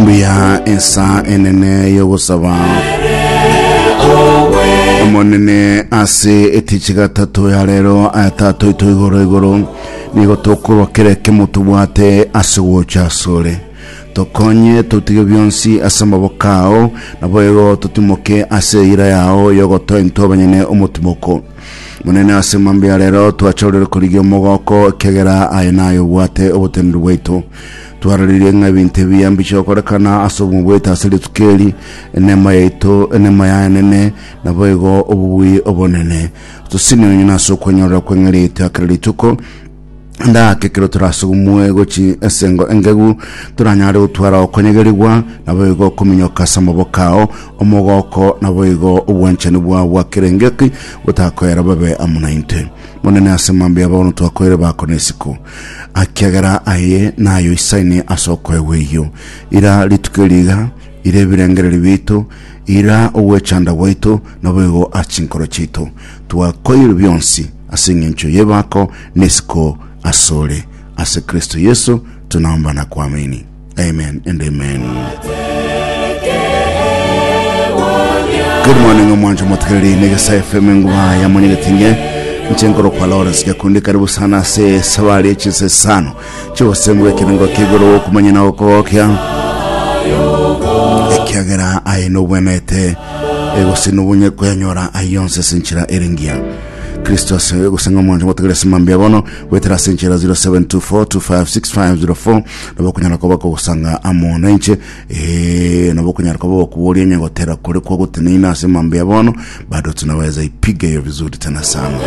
Mbuya ensa enene y'ogosaba Omonene ase etichi gatato ya rero aya Tata oito igoro igoro nigo tokorwa kera ekemo tobwate ase gocha asore tokonye totige bionsi ase amaboko ao naboigo totimoke ase eira yao yogotoa intwe abanyene omotimoko Monene ase mambia ya rero twachorire korigia omogoko ekiagera aye naye obwate oboteneneri bwaito Twaroririe ng'a ebinto ebiya mbiche gokorekana ase obogima bwaito ase rituko eri, enema yaito, enema yaye enene, naboigo obobui obonene. Tosini onye nase okwenyorera kw'eng'eria yaito ya kera rituko, ndake ekero torasugumwe gochi ase engo engegu, toranyare gotwara okonyegerigwa, naboigo okominyoka ase amaboko ao, omogoko, naboigo obwanchani bwao bwa kera engaki botakoera babe amo naintwe. Monene ase mambia bono twakoire bako nesiko. Akiagera aye naye oisaine ase okoegwa eyio. Ira rituko eri iga, ira ebirengererio biaito, ira ogwechanda gwaito, naboigo ase chinkoro chiaito. Twakoirwe bionsi ase engencho y'ebako nesiko asore. Ase Kristo Yeso tunaomba na kuamini. Amen and amen. Good morning omwancho motegereri negesa FM enguba ya monyegetinge nche nkoro kwa Lawrence Nyakundi karibu sana ase sabari echinse isano chigosengu ekerengo kigoro okumanya na okogokia ekiagera aye nobwenete gose nobonye koyanyora aye yonse ase enchera ere engiya kristo ase gose ng'a omwancho motegereri ase mambia bono goetera ase enchera 0724256504 nabo okonyara koba kogosanga amo nainche eh, nabo okonyara koba gokuboria onye gotera kore kwagoteneine ase mambia bono bado tunaweza ipiga hiyo vizuri tena sana.